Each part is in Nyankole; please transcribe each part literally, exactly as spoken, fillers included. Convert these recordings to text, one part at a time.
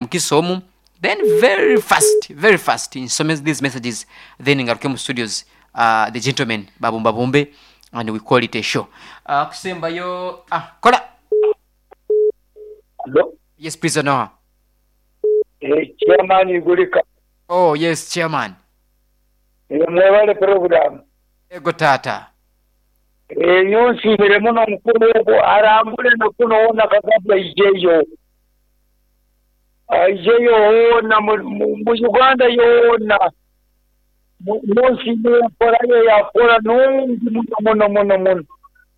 Mukisa omu then very fast very fast nsome these messages then ngaruke mu studios uh, the gentlemen babumbabumbe and we call it a show uh, kusembayo ah, kola Hello? yes please Noah. Eh, chairman Igulika. Oh yes, chairman. Eh, mwebale program. Ego tata. Eh, nyonsiimire muno mukulu ogwo arambule nakuno wona Kagabwa aijeyo. Aijeyo wona mu, mu, mu Uganda yoona. Mu- Nyonsiimire enkola ye yakora nungi muno muno muno muno.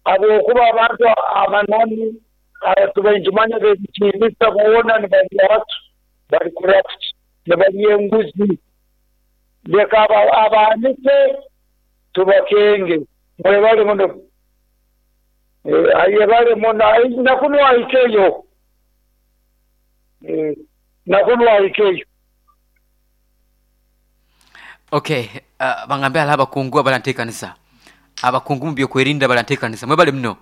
Habwokuba abantu abanani tubainjimanya bebikiinisa boona nibarya baki bari corrupt nibarya enguzi. Leka aba- abaanike tubakenge mwebale muno. Eh, ayebale muno. Ai- nakuno ahikeyo. Eh, nakuno ahikeyo. Okay, uh, bangambe ala abakungu abarantekanisa abakungu mu byokwerinda barantekanisa mwebale muno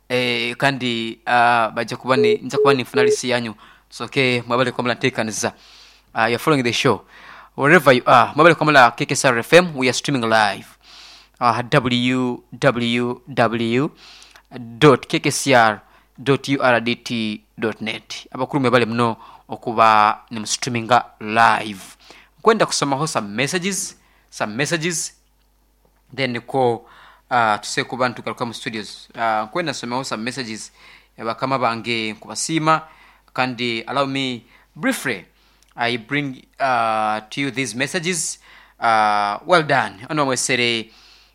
eh, kandi uh, bajja kuba ni nja kuba ninfuna lisi yanyu. It's okay, mwebale kuba murantekanisa. uh, you're following the show wherever you are. Mwebale kuba mula K K S R F M. We are streaming live uh, w w w dot k k c r dot u r d t dot net. Abakuru mwebale muno okuba nimustreaminga live. Nkwenda kusomaho some messages some messages then niko uh, tuse kuba ntugaruka mu studios. uh, nkwenda nsomeho some messages. Bakama bange nkubasiima kandi allow me briefly I bring uh, to you these messages. uh, well done ono mwesere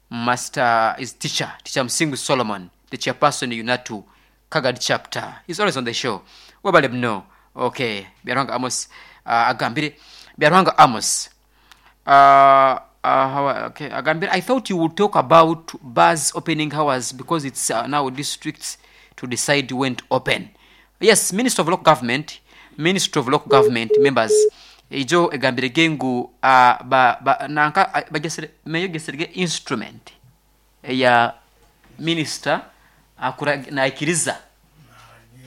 master is teacher teacher Msingu Solomon, the chairperson Unatu Kagad chapter. He's always on the show. Webale mno. Okay, Byarwanga Amos uh, agambire Byarwanga Amos uh, uh, how, okay, agambire, "I thought you would talk about bars opening hours because it's uh, now districts to decide when to open." Yes, Minister of Local Government, Minister of Local Government members ijo egambire gengu uh, ba, ba, nanka uh, bagesere meyo geserege instrument ya minister akura naikiriza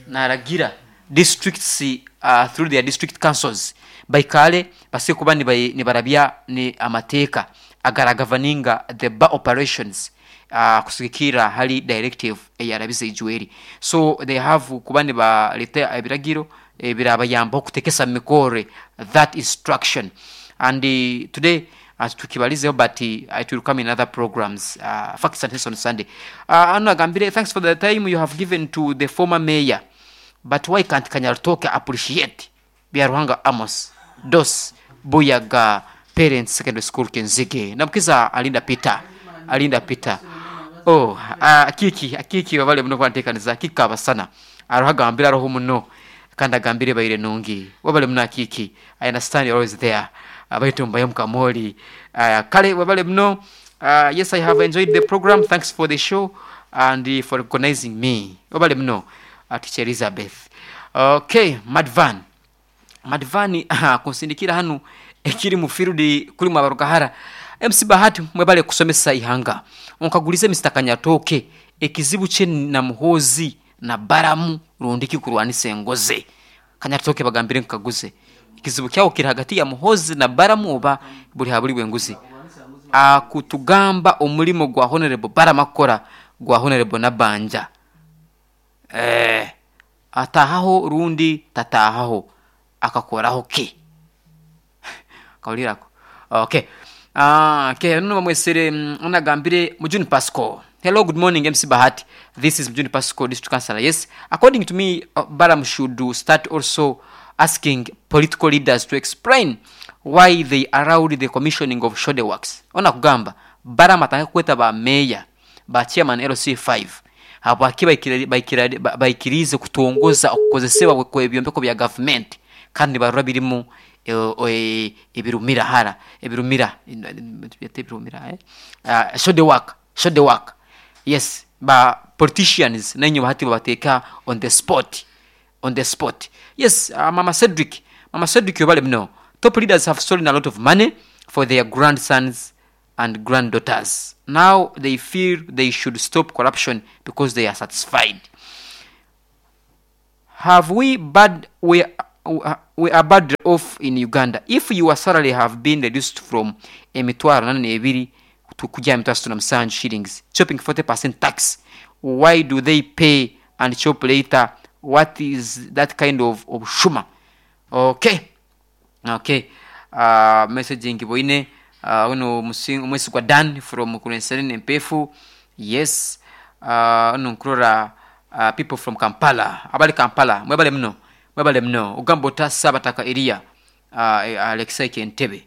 naragira districts uh, through their district councils baikale base kuba nibai- nibarabya ni amateeka agaragavaninga the bar operations uh, kusigikira hali directive eyarabize ijweri. So they have kuba nibaleta ebiragiro ebirabayamba okutekesa mikore that instruction. And uh, today uh, tukibalizeho, but uh, it will come in other programs, uh, Facts and Sense on Sunday. uh, ano agambire, "Thanks for the time you have given to the former mayor, but why can't Kanyartoke appreciate Byaruhanga Amos Dos Buyaga Parents Secondary School Kenzige?" Namukiza Alinda Peter, Alinda Peter. Oh, uh, akiki akiki babale muno kwantekaniza kikabasana aroho agambire aroho muno kandi agambire baire nungi. Wabale muno akiki. I understand you're always there. Abaitumbayo mukamoli uh, kale wabale muno. uh, yes I have enjoyed the program. Thanks for the show and uh, for recognizing me." Wabale muno uh, Teacher Elizabeth. Okay, Madvan Madvani aha, kunsindikira hanu ekiri mu field kuri mwabarugahara. M C Bahati, mwebale kusomesa ihanga. Onkagulize Mister Kanyatoke ekizibu kye na Muhozi na Baramu rundiki kurwanisa engoze. Kanyatoke bagambire nkaguze ekizibu kyawo kiri hagati ya Muhozi na Baramu oba buli habuli bwenguzi akutugamba omulimo gwa Honorable Baramu akora gwa Honorable Nabanja eh atahaho rundi tatahaho akakoraho ke kawulirako. Okay, ah okay, nuno bamwesere mm, onagambire Mujuni Pasco. "Hello, good morning, M C Bahati. This is Mujuni Pasco, district councillor. Yes, according to me, uh, Baram should start also asking political leaders to explain why they allowed the commissioning of shode works." Ona kugamba Baram atanga kweta ba mayor, ba chairman L C five habwaki baikira- baikira- baikirize kutongoza okukozesebwa kw'ebyombeko bya gavumenti kandi barora birimu eh, eh, ebirumira hara ebirumira byete ebirumira eh? uh, show the work, show the work. Yes, ba politicians nenye bahati babateeka on the spot, on the spot. Yes. uh, mama Cedric, Mama Cedric yobale mno. "Top leaders have stolen a lot of money for their grandsons and granddaughters. Now they feel they should stop corruption because they are satisfied. Have we bad we we are bad off in Uganda. If your salary have been reduced from emitwaro nana n'ebiri to kujya emitwaro asatu na musanju shillings, chopping forty percent tax, why do they pay and chop later? What is that kind of obushuma? Okay, okay. Uh, messaging boine uh, uno mwesigwa Dan from Kurenserene Mpefu. Yes, uh, uno nkurora uh, people from Kampala, abali Kampala, mwebale mno, mwebale mno. Ogamba ota Sabataka Elia, uh, Alexei Kentebe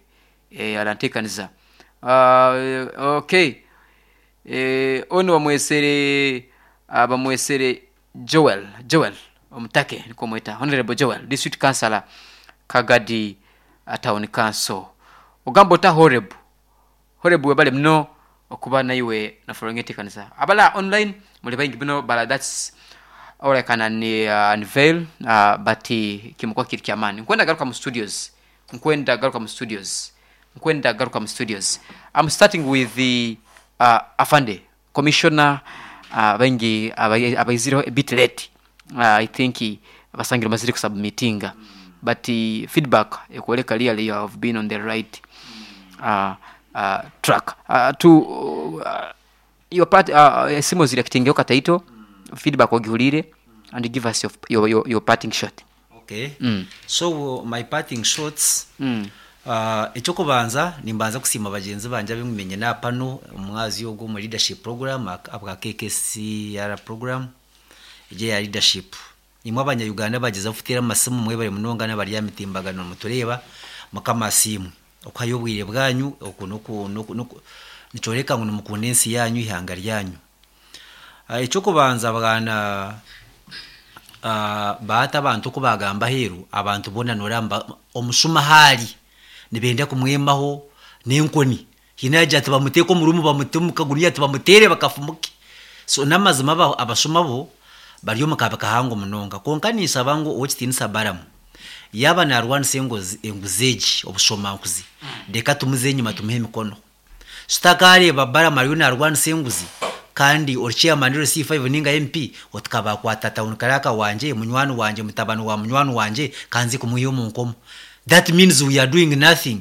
eh, arantekaniza. Uh, okay, eh, ono bamwesere uh, bamwesere Joel, Joel Omutake niko mweta, Honorable Joel, District Councilor Kagadi uh, Town Council. Ogamba ota Horeb, Horeb webale mno okuba naiwe na following kanisa. Abala online muli baingi bino bala, that's all I can un, uh, unveil, uh, but kimukwa kiri kyamani. Nkwenda garuka mu studios, nkwenda garuka mu studios, nkwenda garuka mu studios. I'm starting with the uh, Afande Commissioner. uh, baingi abaiziro a bit late. uh, I think basangira maziri kusubmittinga, but uh, feedback ekwoleka really you have been on the right uh, uh, track. Uh, to uh, your part, uh, simu zirekitingeho kataito feedback ogihulire and give us your, your, your, your parting shot. Okay. Mm. So my parting shots, Mm. uh, ekyokubanza nimbanza kusiima bagenzi banje abimumenye napano omwazi ogwo mu leadership program abwa K K C R program ije ya leadership. Nimwe abanya-Uganda bageza kutera amasimu mwebare munonga n'abari ya mitimbagano mutureba mukamasimu okuhayo obwire bwanyu oku noku noku noku nicoreka ngu nimukunda ensi yanyu ihanga ryanyu. Uh, ekyokubanza bwana, uh, baata abantu oku bagamba aheeru abantu boona noramba omushuma haari nibenda kumwemaho n'enkoni hiine yagira ati bamuteeke omu ruumu bamute omu kaguniya ati bamuteere bakafumuke. So n'amazima aba-, abashuma bo bari omu kabi kahango munonga. Kwonka ninsaba ngu ow'ekitiinisa Balamu yaaba naarwanisa engozi, enguzi egi obushomankuzi, reka tumuze enyima tumuhe emikono. Tutakareeba Balamu ariyo naarwanisa enguzi kandi ori chairman ori C five ninga M P otikabakwata town karaka wanje munywani wanje mutabani wa munywani wanje kanzi kumuha omu nkomo. That means we are doing nothing.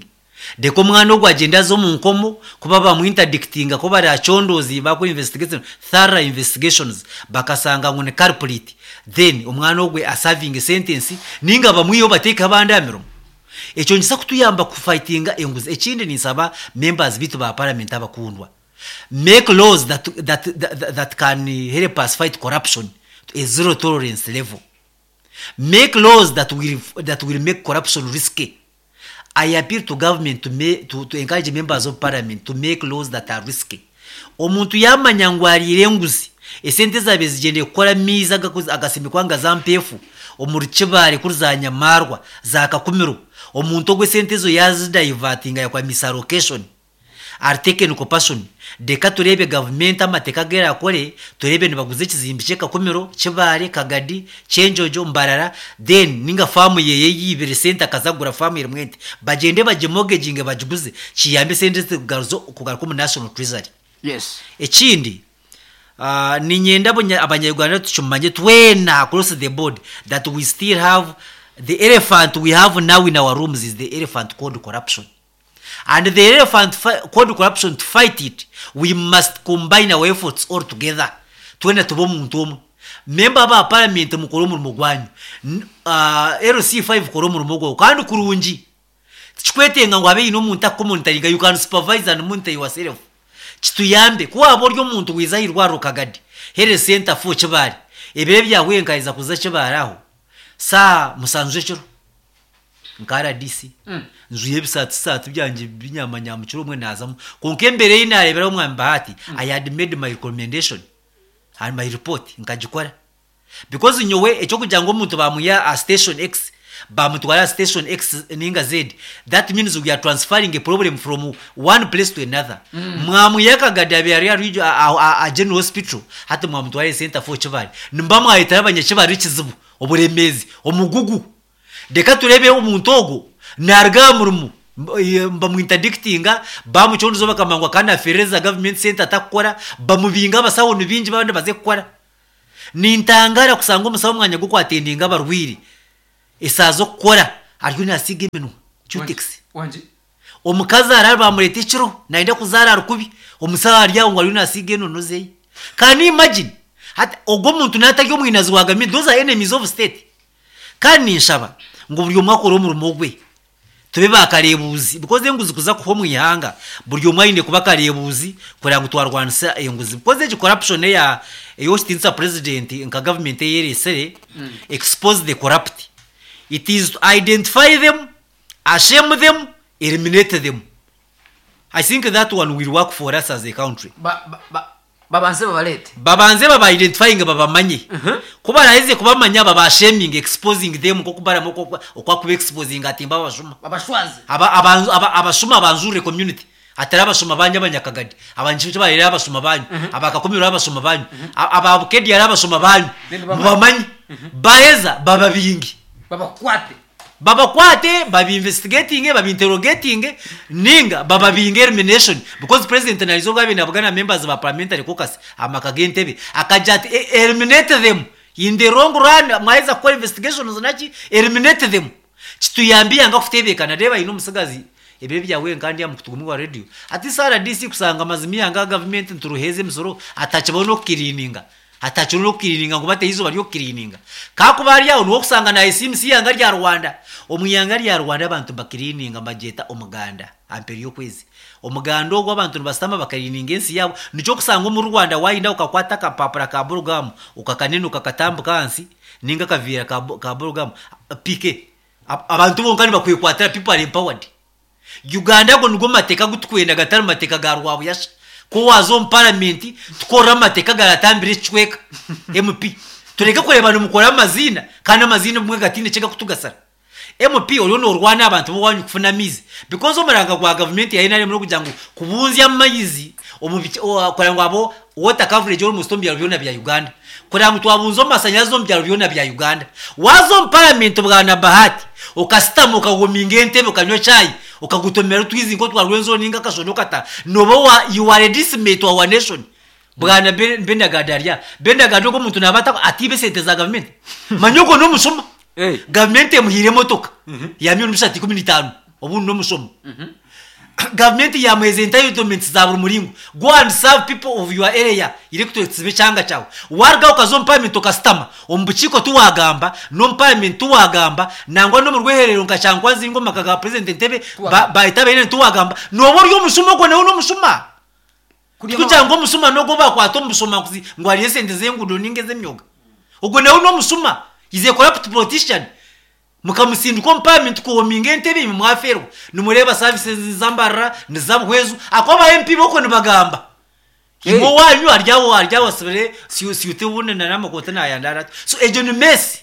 Deko omwana ogwo agenda aza omu nkomo kuba bamuinterdictinga ko barachondozi bakora investigation, thorough investigations bakasanga ngu ni culprit, then omwana ogwe aserving sentence ninga bamwiyo bateeka abandi aha mirimo. Ekyo nikisa kutuyamba kufightinga enguzi. Ekindi ninsaba members bitu ba parliament abakundwa, make laws that, that, that, that can help us fight corruption to a zero tolerance level. Make laws that will, that will make corruption risky. I appeal to government to, make, to, to encourage members of parliament to make laws that are risky. Omuntu yamanya ngu ariire enguzi, esente zabe zigyende kukora miizi agakoze, agasimikwa nga za mpeefu, omu Rukibare kuri za Nyamarwa, za Kakumiro, omuntu ogwo esente ezo yazidivertinga yakora misallocation, are taken compassion. Reka turebe government amateeka agu erakore, turebe nibaguza ekizimbe kye Kakumiro, Kibare, Kagadi, Kyenjojo, Mbarara, then ninga faamu yeye yibire sente akazagura faamu erimu ente, bagyende bagimortgaginge bagiguze, kiyambe sente kugaruza, kugaruka omu National Treasury. Yes. Ekindi, uh, ninyenda abonya-, abanyarwanda tukimanye twena across the board that we still have the elephant we have now in our rooms is the elephant called corruption. And the elephant fi-, called corruption, to fight it, we must combine our efforts all together. Twena tube omuntu omwe. Member ba parliament mukore omurimo gwanyu. N-, uh, L C five kore omurimo gwawe. Kandi kurungi. Tikikwetenga ngu habe hiine omuntu akumonitoringa, you can supervise and monitor yourself. Kituyambe. Ku waaba ori omuntu wiza aha irwariro Kagadi, Health Center four Kibale. Ebiro ebyahwire nkaheza kuza Kibale aho. Saaha musanju ekiro. Nka R D C. Mm. Njuye ebisaatisati byangye binyamanyama kiro omwe naazamu. Kwonka embere ei naareeberaho omwami Bahati, Mm. I had made my recommendation and my report nkagikora. Because nyowe ekyokugira ngu omuntu bamuha a station X, bamutwara station X ninga Z, that means we are transferring a problem from one place to another. Mm. Mwamuya Kagadi abe ari ari a, a, a, a general hospital, hati mwamutwara center for Kibale. Nimba mwahitara abanyakibale ekizibu, oburemeezi, omugugu. Reka turebe omuntu ogwo naruga aha murimo, bamuinterdictinga, bamucondoza bakamangwa kandi afereza government center atakukora, bamubinga abasawo ni bingi babandi baze kukora. Nintangara kusanga omusawo omwanya gw'okwatendinga abarwaire. Esaaha z'okukora ariyo naasiiga eminwa cutex. Wangi. Omukazi arara bamureta ekiro nayenda kuzaara ari kubi, omusaho ari aho ngu ariyo nasiiga enono zeye. Can you imagine? Hati ogwo omuntu naatari omwinazi wa gavumenti, those are enemies of state. Kandi ninshaba ngu buri omwe akore omurimo gwe, tube baakareebuuzi because enguzi kuza kuhwa omu ihanga, buri omwe aine kuba akareebuuzi kureba ngu twarwanisa enguzi. Because egi corruption eya ey'okitiinisa president nka gavumenti ei ereetsire, expose the corrupt. It is to identify them, ashame them, eliminate them. I think that one will work for us as a country. Ba- ba- ba- babanze babareete. Babanze baba identifying, babamanye. Ku baraheze kubamanya, baba shaming, exposing them nk'oku baramu okwakuba exposing ati mba abashuma. Babashwaze. Aba- abanzu- aba- abashuma banjurire community, atari abashuma banyu abanyakagadi, abanju barere abashuma banyu, abakakumiro abashuma banyu, a- ababukedi ari abashuma banyu. Then bamanye. Mubamanye, baheza bababingi, babakwate, babakwate, babi-investigating, babi-interrogating, ninga bababinga, elimination. Because president narizo bwabe nabugana members ba parliamentary caucus amaka g'entebe, akaja ati, "E- eliminate them in the long run. Mwaheza kukora investigations naki, eliminate them." Kituyambiye anga kutebeekana. Reba ine omusigazi ebiro byawe kandi amukutu wa radio ati S R D C kusanga amazima yanga gavumenti nturuheze emisoro, atakibaho n'okukiriininga, atakiri n'okukiriininga ngu bateho izooba ry'okukiriininga. Kakuba ari aho niho okusanga nayesiimisa ihanga rya Rwanda. Omu ihanga rya Rwanda abantu bakiriininga, bagyeta omuganda amperi y'okwezi. Omuganda ogwo abantu nibasitama bakariininga ensi yaabo. Nikyo okusanga omu Rwanda wayenda ukakwata akapapura ka burugamu ukakanene ukakatambuka ahansi, ninga akaveera ka bu- ka burugamu pike, abantu bonka nibakwekwatira. People are empowered. Uganda ago nigo mateeka gutukwenda, gatari mateeka ga rwabuyasha. Ko waza omu paramenti tukorera amateeka garatambira ekicweka, M P tureke kureba nimukora amaziina, kandi amaziina obumwe gatiine ekigakutugasara. M P oriyo norwana abantu bowanyu kufuna amaizi, because omuranga gwa gavumenti ya N R M nokugira ngu kubunzya amaizi omu bice- o- kureba ngu abo water coverage almost omu byaro byona bya Uganda, kureba ngu twabunza omu omu byaro byona bya Uganda. Waza omu paramenti bwana Bahati, okasitama, okagominga entebe, okanywa chai, okagutomera otwizi nk'otwa Rwenzori ninga akashoni, okata noba wa you are a decimate wa our nation. Bwana Ben- benagadi arya Benagadi ogwo omuntu naba ata- atiiba esente za gavumenti, manya ogwo n'omushuma. Eh. Gavumenti emuhiire emotoka ya miliyoni bishatu ikumi n'itaano, obundi n'omushomo. Gavumenti yamuheza entitlements za buri muringo. Go and serve people of your area, electorates b'ekyanga kyawe. Waruga ukaza omu parliament, okasitama omu bukiiko, tiwagamba n'omu parliament, tiwagamba nangwa n'omu rweherero nka Kyankwanzi omu maka ga president Entebe ba- bahita baine, tiwagamba, noba ori omushuma. Ogwo nawe n'omushuma. Kugira ngo omusuma nogwo bakwata omu bushomankuzi ngu hariyo esente z'enguudo ninga ez'emyoga, ogwo nawe n'omusuma, is a corrupt politician. Mukamusindika omu parliament kuwominga entebe, imwe mwaferwa nimureeba services zambarira nizabuhwezu ako aba M P boko nibagamba imwe wanyu aryawo aryawo asibire siute ubundi nanamakoti nayandara ati. So egyo ni mess.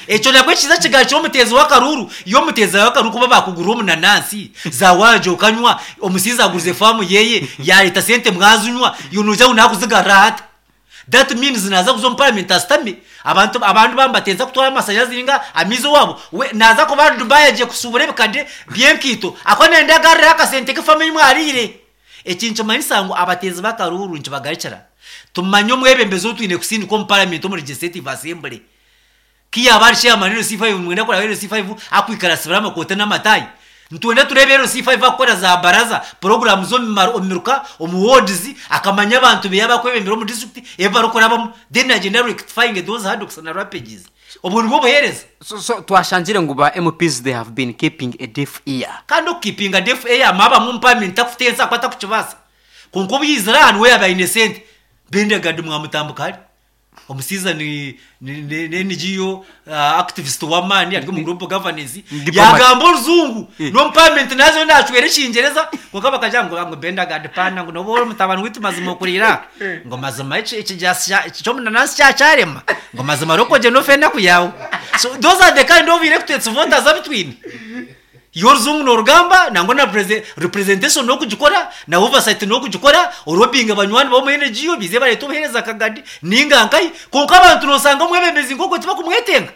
Ekyo nakwo ekiza kigali ky'omuteezi w'akaruru. Iyo omuteezi w'akaruru kuba bakugura omunanansi zawaje okanywa, omusiizi agurize faamu yeye yareta sente mwazinywa, yonoja ngu nakuzigarura hata. That means naza kuza omu parliament asitame, abantu abantu bambatenza kutwara amasanyarazi ninga amaizi owabo, we naza kuba ari Dubai agiye kusubura ebikade by'enkiito, ako nenda agarure akasente k'efamu ei mwariire. Eki nikimanyisa ngu abateezi b'akaruru nikibagarukira tumanye omwebembezi ou twine kusindika omu parliament, omu legislative assembly. Kiyaba ari chairman L C five, mwenda kuraba L C five akwikara asibira amakote n'amatayi? Nitwenda turebe L C five akukora za baraza program z'omu miruka, omu wards, akamanya abantu beye abakwebembera omu district ebi barikurabamu, then agenda rectifying those hurdles na rampages. Obwo nibwo buheereza. So, so twashanjire ngu ba M Ps, they have been keeping a deaf ear. Kandi okukipinga deaf ear, mwaba mu parliament takutensa akwata kukibaasa, konka obuyizira aha niwe yaba aine sente. Bendagadi mwamutambuka hari omusiiza ni ni- ni ni N G O uh, activist w'amaani ari omu global governance. Diplomat. Yagamba oruzungu Eh. n'omu parliament nazo nacwera ekingereza, konka bakagira ngo ngo Bendagadi pana ngo noba ori omutabani witu mazima okurira ngo mazima eki ekijasi ky'omunanasi kyakyarema ngo mazima rokoje nofe enaku yawe. So those are the kind of electorates, voters abitwine. Iyo oruzungu norugamba nangwa na prese- representation nokugikora na oversight nokugikora, orobinga banywani bomu N G O bize bareta obuhereza akagadi ninga nkai, konka abantu nosanga omwebembezi nkogwo tibakumwetenga.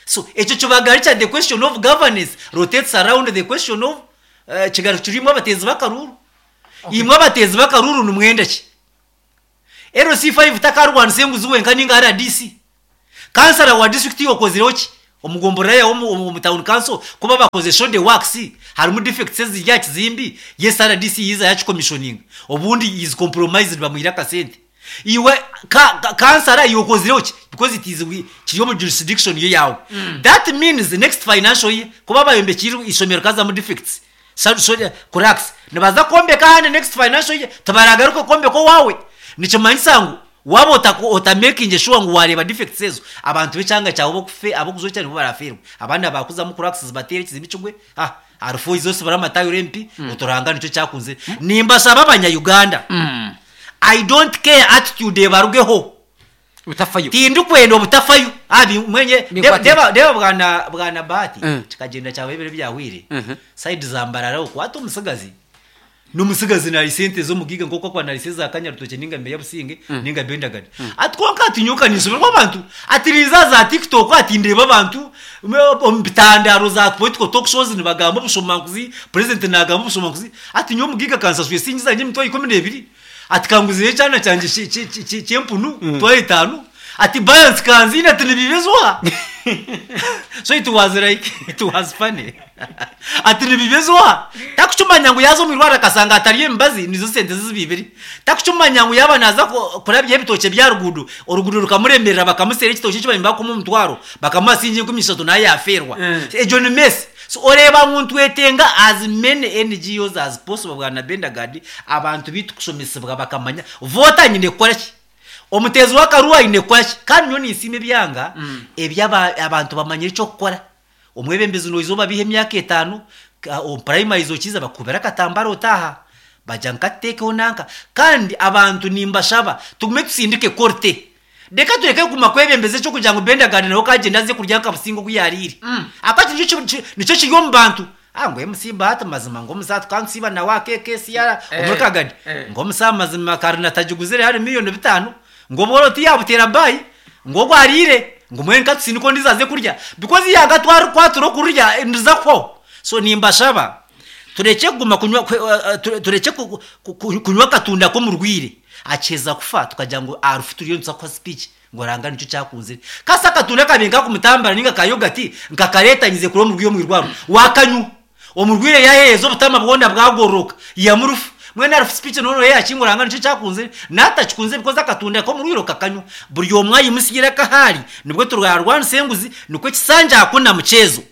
So ekyo kibagarikira the question of governance rotates around the question of uh, kigaru kirimu abateezi b'akaruru. Imwe abateezi b'akaruru nimwenda ki? L C five takarwanisa enguzi wenka ninga R D C kansara wa district yokozireho ki? Omugomborora yawe omu omu town council kuba bakoze show the works, harimu defects eziri aha kizimbi, yes, R D C yiza yakicommissioninga, obundi is compromised, bamwire akasente. Iwe ka, ka, kansara, iwe okozireho ki? Because it is wi- kiri omu jurisdiction ye yawe. That means the next financial year, kuba bayombekire ishomero kazamu defects, so, so, cracks, nibaza kwombeka ahandi next financial year, tibaragaruka kwombeka owawe. Nikimanyisa ngu waba otako- otamakinge sure ngu wareeba defects ezo, abantu b'ekyanga kyawe bokufe abokuzokya nibo baraferwa. Abandi bakuzamu cracks, zibateere, ekizimbe kigwe. Ah, harufu izo sibara amatayiro empi oturanga. Nicyo kyakunze nimbasaba Abanya-Uganda, I don't care attitude ebarugeho. Utafayo. Tindikwenda obutafayo abi mwenye. Ninkwate. Deba deba, bwana bwana Bahati, Mm. kikagenda cyawe ebiro byahwire Mhm. side za Mbarara, okwata omusigazi n'omusigazi nari sente z'omugiga nk'oku akwa nari za Kanyarutoke ninga Meya Businge ninga Bendagana. Ati konka ati nyuka nisoberwa abantu, ati riza za TikTok, ati ndeba abantu omu bitandaro za political talk shows nibagamba obushomankuzi, president nagamba obushomankuzi. Ati nyowe omugiga kansasuye singi zanje emitwaro ikumi n'ebiri, ati kanguzire ekyana kyangye ki- ki- ki- ki- kyempunu mitwaro etaano, ati balance kanzine, ati nibibezwa. So it was like, it was funny, ati nibibezwa. Takucumanya ngu yaza omwirwaro akasanga atari emibazi, nizo sente zibibiri. Takucumanya ngu yaba naza ku- kurabya ebitookye bya rugudo, orugudo rukamuremerera, bakamusera ekitookye ekibari bakumuha omutwaro, bakamuha singi enkumi ishatu, naye yaferwa. Mm. Egyo ni mess. So oreba ngu ntwetenga as many N G Os as possible, bwana Bendagadi, abantu bitu kushomesebwa bakamanya vota nyine kukora ki, omutezi w'akaruwa aine kukora ki. Kandi nyo ninsiima ebyanga ebyaba abantu bamanyire ekyokukora. Omwebembezi noiza obabiha emyaka etaano, ka- omu primaries okiza bakubira akatambara, otaha bajya nkatekeho nanka. Kandi abantu nimbashaba tugume tusindike korte, reka tureke kuguma kwebembeza ekyo kugira ngu Bendagani nawe kagenda aze kurya nka Businga oku yarire. Akati nicyo ki- nicyo kiri omu bantu. Ah, ngo M C Bahati mazima, ngo omusa tukansiba nawe akeke siyara Eh, omuri Kagadi, eh. ngo omusa mazima karina tagiguzire hari miliyoni bitano, ngo bworo tiyabutera bayi, ngo gwarire, ngo mwe nkatusindiko ndizaze kurya because yanga twari kwatura kurya ndiza ko. So nimbashaba tureke kuguma kunywa kwe- uh, ture- tureke ku- ku- ku- kunywa akatunda ko mu rwire akeza kufa, tukagira ngo arufu turiyo nza kwa speech ngo ranga nicyo cyakunze. Kasa akatunda kabenga kumutambara ninga kayogati nkakaretanyize kuri mu rwiyo mwirwaro wakanywa omurwire yaheza obutama bwona bwagoroka yamurufu mwene arufu speech nono yakinguranga nicyo cyakunze natakikunze because akatunda ko mu rwiro kakanywa. Buri omwe ayimusigira kahari nibwo turwarwanisa enguzi. Nikwo kisanja hakuna mchezo,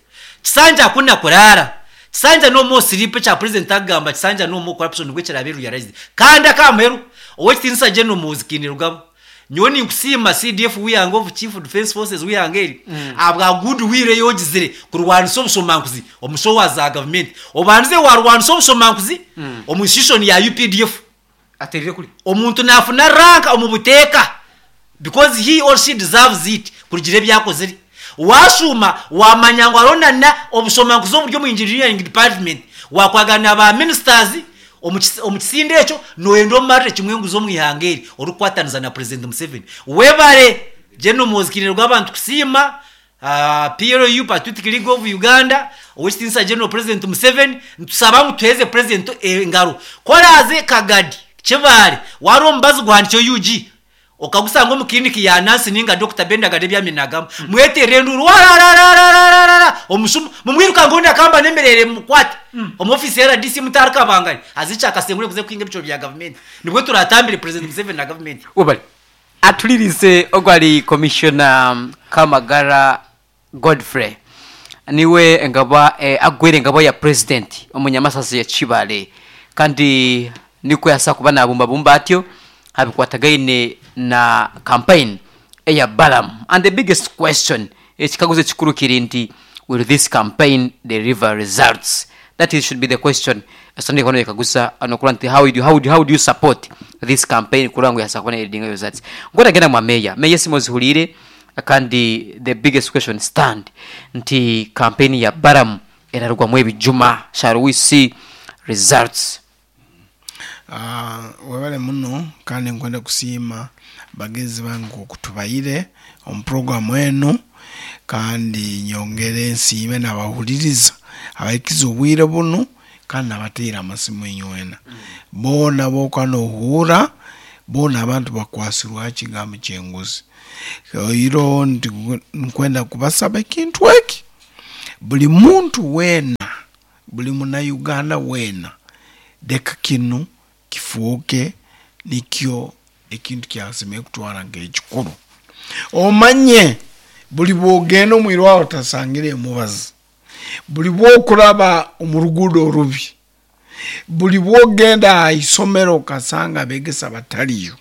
kisanja hakuna kurara, kisanja no more sleep cha president agamba, kisanja no more corruption, nibwo kirabe realized. Kandi akamuheru, owekitinisa General Muhoozi Kainerugaba, nyowe ninkusiima C D F wihanga of Chief Defense Forces wihanga eri abwa good will yogizire kurwanisa obushomankuzi omushowa za government. Obanze warwanisa obushomankuzi omu institution ya U P D F. Aterire kuri. Omuntu nafuna rank omu buteeka because he or she deserves it kurugira ebyakozire. Washuma wamanya ngu aronana obushomankuzi oburi omu engineering department, wakwagana ba ministers omu kis- omu kisinde ekyo, noyenda omumarire kimwe enguzi omu ihanga eri orikukwataniza na President Museveni. Webare General Muhoozi rw'abantu kusiima uh, P L U, Patriotic League of Uganda, owekitinisa General President Museveni. Nitusaba ngu tuheze president engaro koraze Kagadi Kibare wari omubazi guhandikyo U G, okagusanga omu kiriniki ya nasi ninga Doctor Bendagade ebyaminagamu, mwetere enduru warararararara omushuma mumwiruka ngo ndakamba nemerere mukwate omu office ya R D C mutarikabangari azichakasengure kuze kuhinga ebicoro bya government. Nibwo turatambire President Museveni na government. Webale atulirize ogwali Commissioner Kamagara Godfrey, niwe engaba eh, agwere engabo ya president omunyamasasi ya Kibale, kandi niko yasa kuba nabumbabumba atyo habikwatagaine na campaign eya Balaam. And the biggest question, ekikaguzo ekikuru kiri nti, will this campaign deliver results? That is, should be the question. Sunday kono yekagusa anokula nti how do you, how do, how do you support this campaign kurango ngo yasa kubona leading results. Ngora mwa meya meya simozihulire. Kandi the biggest question stand nti campaign ya Balaam erarugwamu ebijuma, shall we see results? Ah, webale muno, kandi nkwenda kusiima bagezi bange okutubayire omu programu eno, kandi nyongere nsiime nabahuliriza abaikiza obwire bunu, kandi nabateera amasimu enywena boona boka nohuura boona abantu bakwasirwa kigambo kyenguzi. Oiro ndi- nkwenda kubasaba ekintu eki, buli muntu weena, buli munauganda weena, leka kinu kifuuke nikyo ekintu kyasemere kutwara nk'ekikuru. Omanye buli bwogenda omwirwaro otasangire emubazi, buli bwokuraba omu ruguudo orubi, buli bwogenda aha isomero okasanga abegesa batariyo,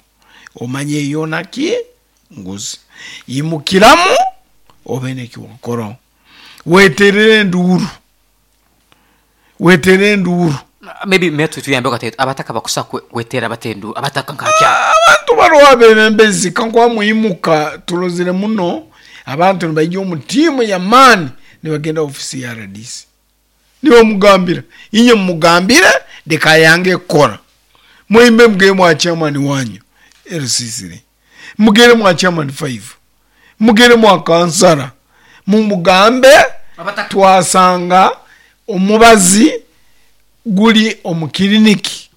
omanye yoona ki nguzi. Imukiramu obe nekiwakoraho, weterere enduuru, weterere enduuru. Maybe metu tuyambe kati abataka bakusa kwe- kwetera batendu abataka nkakya. Abantu bariho abebembezi kankuba mwimuka turozire muno abantu nibaija omu tiimu y'amaani nibagenda ofisi ya R D C, nibamugambira inye mumugambire leka yange kukora, mwimbe mugende mwa chairman wanyu L C three, mugende mwa chairman five, mugende mwa kansara, mumugambe Abataka. twasanga omubazi guli omu kiriniki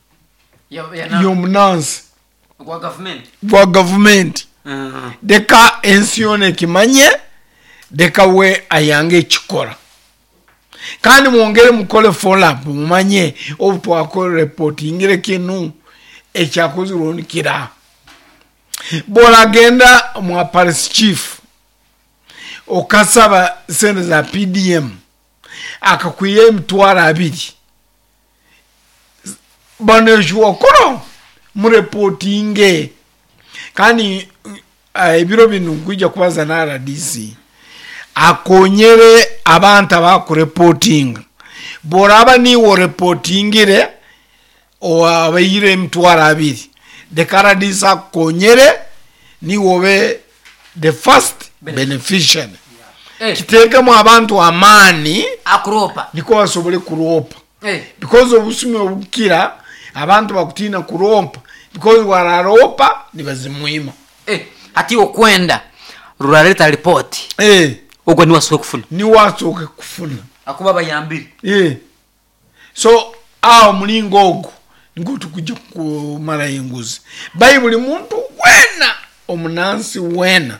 Ya- ya na- y'omunansi gwa government. gwa gavumenti. Mm. Leka ensi yoona ekimanye, leka we ayange ekikora. Kandi mwongere mukole follow up, mumanye obu twakora reportingire kinu ekyakozirwe nikira. Boragenda mwa parish chief okasaba sente za P D M akakwiya emitwaro abiri, baneshuwakoro mureportinge. Kandi uh, ebiro binu nkwija kubaza na R D C akonyere abantu abakureportinga. Boraba niwe oreportingire owabaire emitwaro abiri, leka R D C akonyere niwe obe the first beneficiary. Eh. Kiteekemu abantu amaani akuropa niko basobole kuropa. Eh. Because obusumi obukira abantu bakutiina kuropa, because wararopa nibazimwima. Eh, ati okwenda ruraleta report. Eh. Ogwo ni wasoke kufuna. Ni wasoke kufuna. Akuba bayambire. Eh. So awo mulingo ogwo niko tukujja kumala enguzi. Bayibuli muntu wena omunansi wena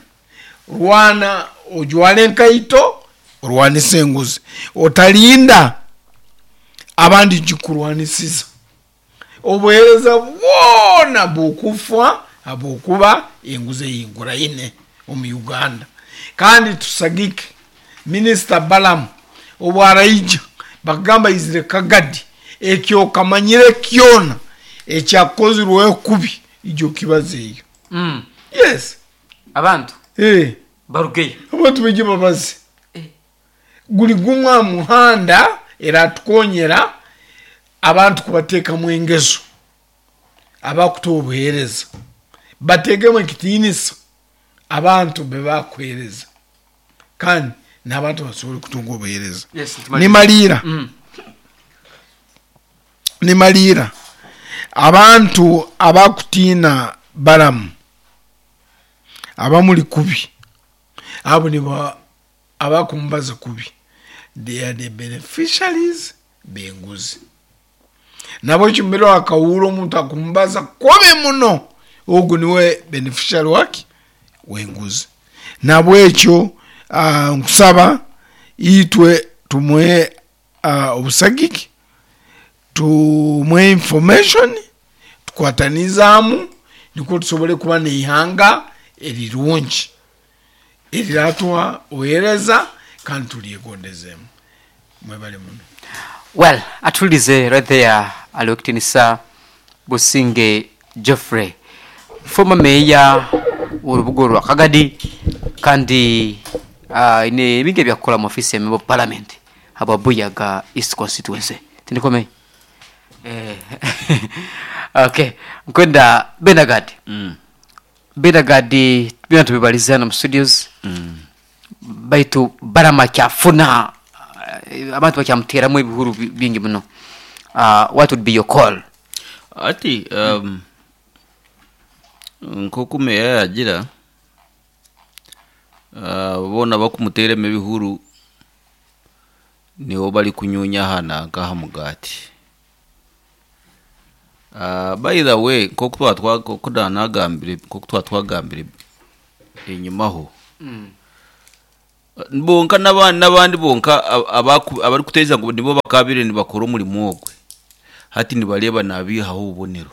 rwana ojwale enkaito orwanise enguzi, otalinda abandi gikurwanisiza. Obuheereza bwona bukufa habwokuba enguzi eyinguraine omu Uganda. Kandi tusagike Minisita Balamu obwaraija bakagamba izire Kagadi, ekyo kamanyire kyona ekyakozirweho kubi ijo kibazeeyo. Mm. Yes. Abantu Eh. barugeyo. Abantu baije babaze. Eh. Guli gumwa muhanda era tukonyera abantu kubateekamu engeso abakutuwa obuheereza, bateekemu ekitiinisa abantu be bakuheereza, kandi n'abantu basobole kutunga obuheereza. Yes, ntumaliire. Nimaliira. Mm. Nimaliira. Abantu abakutiina Balamu abamuli kubi, abo nibo abakumbaza kubi, they are the beneficiaries b'enguzi. Nabo ekimbere akawuura omuntu akumbaza kubi muno, ogu niwe beneficiary wake w'enguzi. Nabwekyo, ah, nkusaba itwe tumuhe, ah, obusagiki, tumuhe information, tukwatanizaamu nikwo tusobole kuba n'eihanga erirungi eriratuha obuheereza kandi turyegondezemu. Mwebale muno. Well, atulize right there aliwekitinisa Businge Geoffrey, former mayor w'orubuga rwa Kagadi, kandi, uh, ine ebingi ebyakukola mu office ya member of parliament habwa Buyaga East constituency. Tindikome? Eh. Okay, nkwenda Benagadi. Mm. Benagadi bina tubibalizana mu studios. Mm. Baitu barama kyafuna, eh, abantu bakyamuteramu ebihuru bi-, bingi muno. Uh, what would be your call? Ati, um, nkoku meya yagira, uh, bona bakumuteremu ebihuru nibo bari kunyunya hana nkaha mugati. Uh, by the way, nkoku twa twa, nkoku nagambire, nkoku twa twagambire Enyimaho bonka n'abandi n'abandi bonka ab- abaku- abarikuteeza ngu nibo bakabire nibakora omurimo ogwe hati nibareeba nabihaho obubonero,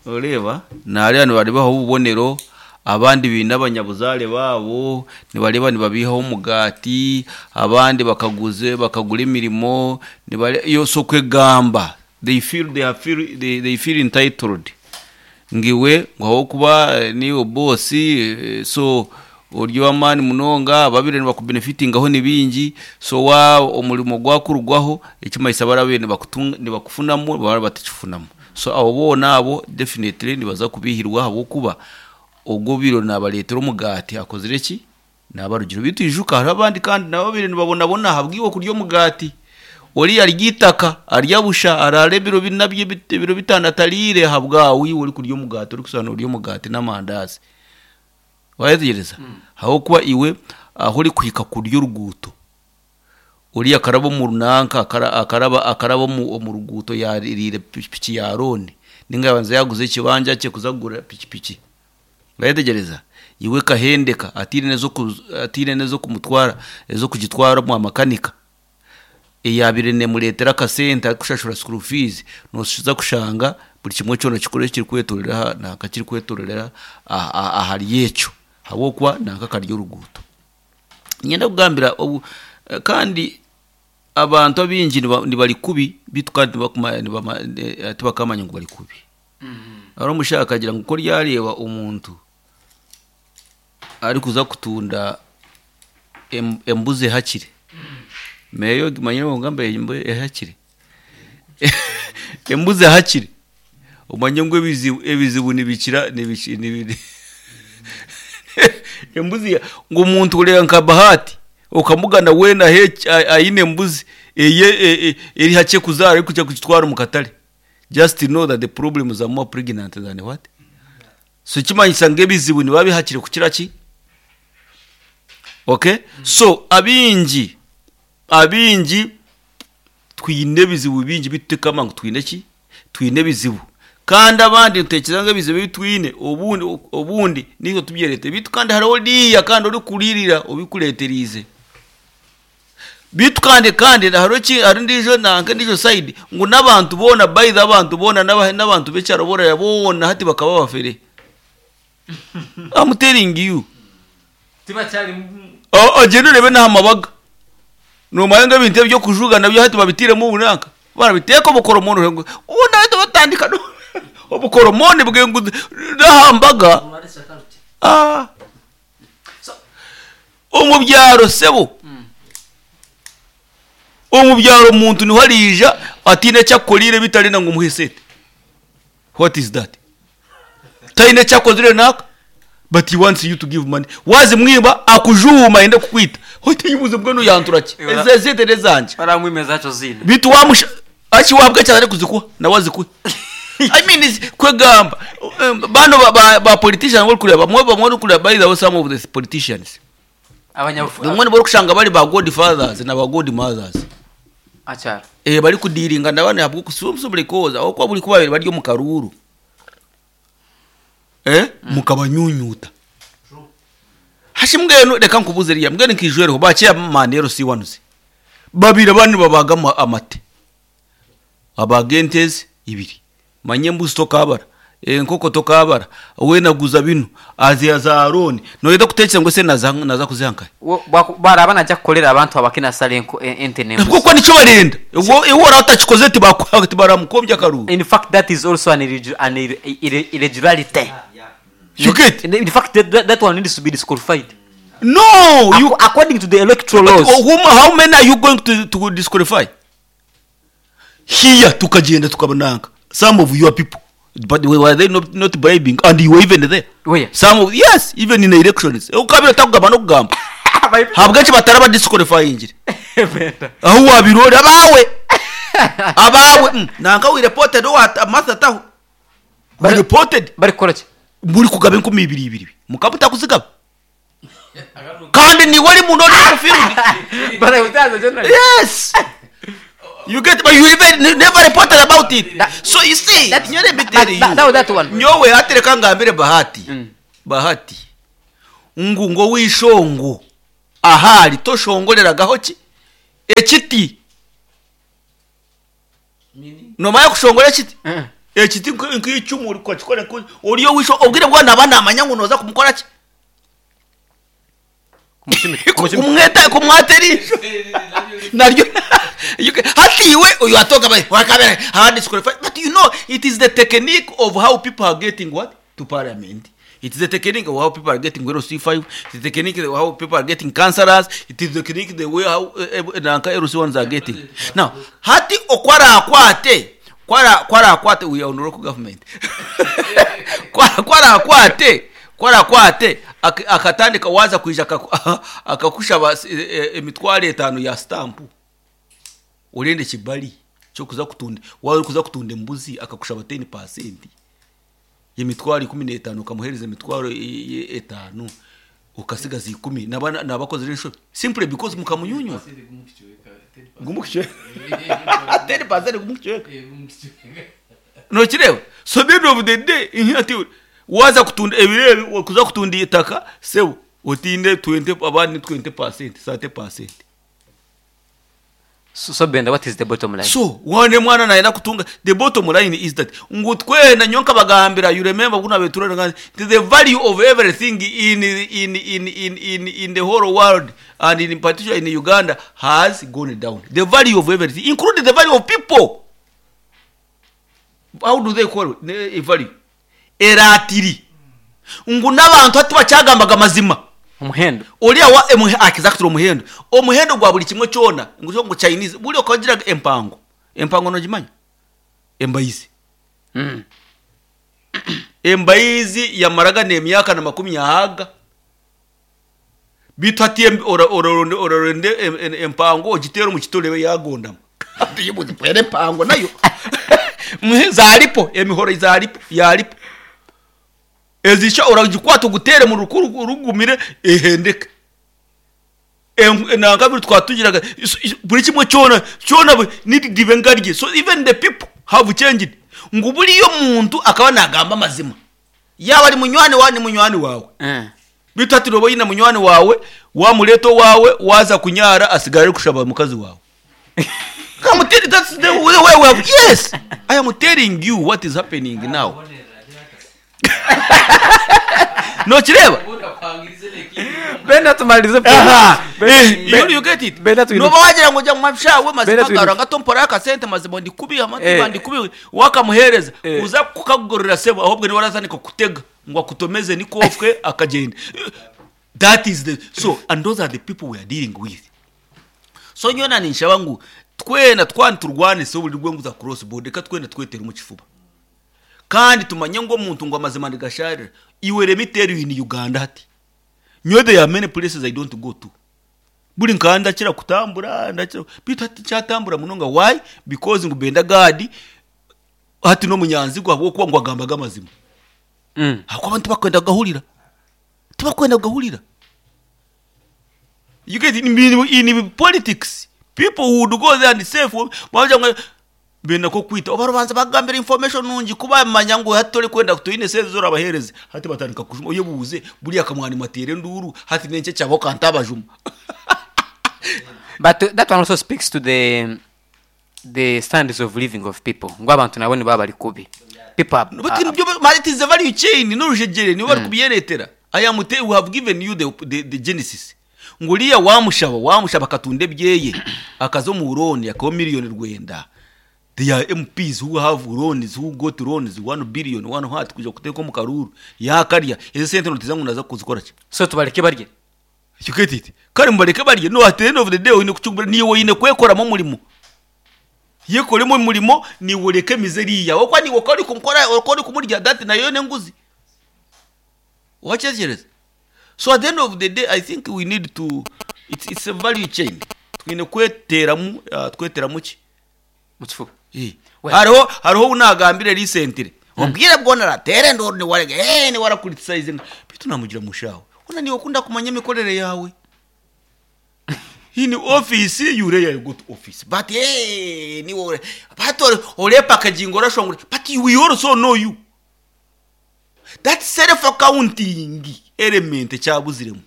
oreeba nareeba nibareebaho obubonero, abandi biine abanyabuzaare baabo nibareeba nibabihaho omugaati, abandi bakaguze bakagura emirimo nibare yose okwegamba they feel they are feel they, they feel entitled ngiwe ngu ahabwokuba eh, niiwe boss, eh, so ori ow'amaani munonga ababire nibakubenefitingaho ni bingi, so wa omurimo gwakurugwaho ekimanyisa barabaire nibakutunga nibakufunamu baraba batakifunamu, so abo boona abo definitely nibaza kubihirwa ahabwokuba ogwo obiire nabareetera omugaati akozire ki? Nabarugire. Beitu ijuka hariho abandi kandi nabo babaire nibabonabona ahabwiwe kurya omugaati, oriya arya eitaka arya busha araara ebiro bina bye ebiro bitaano atariire ahabwawe iwe orikurya omugaati orikushusha norya omugaati n'amandaazi. Wayetegereza? Ahabwokuba iwe ahu orikuhika kurya oruguuto, oriya akaraba omu runanka akara- akaraba akaraba omu omu ruguuto yaririire pikipiki ya loan ninga yabanza yaguza ekibanja kye kuza kugura pikipiki. Wayetegereza? Iwe ekahendeka ataine n'ezoku ataine n'ezokumutwara ez'okugitwara omwa makanika eyabaire nemureetera akasente arikushashura school fees, noza kushanga buri kimwe kyona kikuru ekirikwetorera aha nanka kirikwetorera aha aha ahari ekyo ahabwokuba nanka akarya oruguuto. Niinyenda kugambira obu kandi abantu abaingi niba nibari kubi beitu kandi tibakuma nibama tibakamanya ngu bari kubi. Hariho omushaija akagira ngu ku oryareeba omuntu arikuza kutunda em- embuzi ehakire, meeyo ogimanyire ngu embu ehakire embuzi ehakire omanye ngu ebizibu ebizibu nibikira nibiki nibi embuzi ya ngu omuntu oreeba nka Bahati okamugana weena ahe- aine embuzi eye e- e- eri hakye kuzaara arikuja kugitwara omu katare, just know that the problems are more pregnant than what? So ekimanyisa ngu ebizibu nibiba bihakire kukira ki? Okay? So abaingi abaingi twine ebizibu bingi bitu tutekamanya ngu twine ki? Twine ebizibu. Kandi abandi nitutekyereza ngu ebizibu ebi twine obundi obundi niitwe tubyereetere beitu kandi hariho oriya kandi orikuririra obikureeteriize. Beitu kandi kandi hariho eki hariho endiijo nanka endiijo side ngu n'abantu boona by the abantu boona n'aba n'abantu b'ekyaro boona boona hati bakaba bafere. I'm telling you. Tibakyari O- ogyende oreebe n'aha mabaga nomanya ngu ebintu ebyokujuga nabyo hati babitiiremu obunanka barabiteeka obukoromoni ngu ubundi hati batandika no- obukoromoni bwe ngu n'aha mbaga. Ah. Omu byaro sebo, omu byaro omuntu niho ariija ataine eki akukoriire bitari na ngu omuhe sente. What is that? Taine eki akozire naaka but he wants you to give money. Wazimwiba akujuuma ayenda kukwita, oteyibuuze mbwenu yantura ki? Ezi esente n'ezangye. Baramwima ezaakyo ziine. Beitu wamusha aki wahabwa eki arikuzikuha nawe azikuhe. I mean is kwegamba um, bano ba, ba, ba politicians orikureeba bamwe bamwe orikureeba, by the way, some of the politicians abanyabufu bamwe nibo orikushanga bari ba godfathers na ba godmothers akyaro eh bari kudealinga na bano ahabw'okusumbura because ahabw'okuba buri kuba babiri bari omu karuuru eh mukabanyunyuta hashi. Mbwenu reka nkubuze riya, mbwenu nkijwereho ba chairman L C ones babiri abandi babaga ama- amate abaga entezi ibiri, manye embuzi tokabara, enkoko tokabara, we naguza bino aziya za loan noyenda kutekereza ngu ese naza naza kuziha nkahe? Wo- baku- baraba najja kukolera abantu abakina sala enko- en- ente n'embuzi. Kuko nicyo barenda ubwo iwe wari utakikoze tibakwa tibaramukombya akaruru. In fact, that is also an, irregu- an irre- irre- irregularity. You get? In, in fact, that, that, that one needs to be disqualified No, you Ac- according to the electoral But laws. whom, how many are you going to, to disqualify here? Tukagenda tukabananga some of your people, but were they not, not bribing and you were even there? Where? Some of, yes, even in the elections ukabira takugamba nokugamba habweki bataraba disqualifying aho wabirora abawe abawe mm, nanka we reported what Martha taho we reported. Bari kukola ki? Muri kugaba enkumi ibiri ibiri mukaba utakuzigaba kandi niwe uri muntu uri mu field. Bari gutaza generally. Yes, you get, but you even never reported about it. That- So you see that- nyo let me that- tell you that- that- that one. nyowe hatereka ngambire Bahati Mm. Bahati ngu ngo wishongo ahari toshongoreragaho ki ekiti nomanya kushongora ekiti ekiti nk- nk'icumu uri kwakikora nku- oriyo wisho obwire bwa naba namanya ngu noza kumukora ki kumweta kumwatera ijisho naryo you can- hatiwe uyu atoka bari wakabera abandi disqualified. But you know, it is the technique of how people are getting what to parliament. It is the technique of how people are getting L C five. It is the technique of how people are getting councillors. It is the technique the way how eh, eh, nanka L C ones are getting now. Hati okwara akwate kwara kwara akwate, we are on local government, kwara kwara akwate kwara akwate ak- akatandika waza kwija akaku- akakushaba eh, eh, emitwaro etano ya stamp, urende kibali cyo kuza kutunda, wari kuza kutunda embuzi, akakushaba ten percent yemitwaro ikumi n'etano, ukamuhereza emitwaro i- i- etano, ukasigaza ikumi, naba nabakoze inshobe simply because mukamunyunywa gumukichweka ten percent gumukichweka nokireba. So the end of the day, inki ati waza kutunda ebirebe, kuza kutunda itaka sebo otinde twenty, abandi twenty percent, thirty percent. So, so Benda, what is the bottom line? So wane mwana naenda kutunga, the bottom line is that ngu twena nyonka bagambira, you remember kuna betura the value of everything in in in in in in the whole world and in particular in Uganda has gone down. The value of everything, including the value of people. How do they call it? Ne- value eratiri ngu n'abantu hati bacyagambaga amazima. Omuhendo. Uriya wa emuhe exactly, omuhendo omuhendo gwa buli kimwe kyona, ngu ngo Chinese buli okagiraga empango empango nogimanya embayizi. Mm. Embayizi yamaraga nemyaka na makumi ahaga bitu hati em- ora- ora- orarende em- em- empango ogitera omu kitorebe yagondama tuyibuzipwere empango nayo. Mhe, zaripo emihoro zaripo yaripo ezisha uragikwata ugutere mu rukuru rugumire ehendeke. Nangabiri twatugiraga is- is- buri kimwe cyona cyona bu- nidibe ngarye. So even the people have changed, ngo buriyo muntu akaba nagamba amazima yaba ari munywani wawe ni munywani wawe. Eh. Bitu ati robo yina munywani wawe wamuleto wawe waza kunyara asigara ari kushaba mukazi wawe. I'm telling, that's the way we have. Yes, I am telling you what is happening now. Nokireba. Benda, tumalize. Aha. Ben- Eh, you, you get it. Benda tuinuke. Noba wagira ngo jya mu mabishawe Benda mazima tuinuke. garanga tompora akasente mazima ndikubi amatu Eh. ndikubi wakamuhereza Eh. uza kukagorera sebo ahubwo ni warazanika kutega ngo akutomeze nikofwe akagenda. That is the so and those are the people we are dealing with. So nyona ninshaba ngu twena twani turwane so buri rwengu za cross border ka twena twetera mu kifuba kandi tumanye ngo omuntu ngo amazima ndigasharira iwe. Let me tell you, in Uganda hati nyowe there are many places I don't go to. Buri nkanda ndakira kutambura ndakira bitu hati cyatambura munonga. Why? Because ngo Benda Gadi hati no munyanzi gwa kuba ngo agambaga amazima. Mm. Ako abantu bakwenda gahurira tibakwenda gahurira. You get in, in, in politics, people would go there and say for baja ngo benda ko kwita obarubanza bagambira information nungi kubamanya ngo hatore kwenda tuyine seze zorabahereze hati batandika kujuma uye buze buriya kamwani matere nduru hati nenche cyabo kantabajuma. But uh, that one also speaks to the the standards of living of people, ngo abantu nabo nibo bari kubi. People are, But ibyo ma- it is a value chain n'urujegere nibo bari kubyeretera. I am te, we have given you the, the, the genesis ngo uriya wamushaba wamushaba akatunda ebyeye akaza mu loan akaba miliyoni rwenda. There are M Ps who have loans, who got loans one billion one heart kuja kuteka mu karuru yakarya izo sente notiza ngo naza kuzikora ki? So tubareke barye. You get it? Kandi mubareke barye? No, at the end of the day oyine kucyumbura niwe oyine kwekoramo umurimo yekoremo umurimo niwe ureke mizeriya okwa niwe kori kumukora okori kumurya that nayo nenguzi wachekereza. So at the end of the day, I think we need to it's, it's a value chain twine kweteramu uh, tweteramu ki? Mu kifuba. Eh. Well- Hariho hariho unagambire recently ubwire bwona ratere ndoro ni warege eh ni wara criticizing bitu namugira mushawe una niwe ukunda kumanya imikorere yawe in office. You rarely go to office, but eh ni wowe but ore packaging orashongore, but we also know you. That self accounting element ekyabuziremu.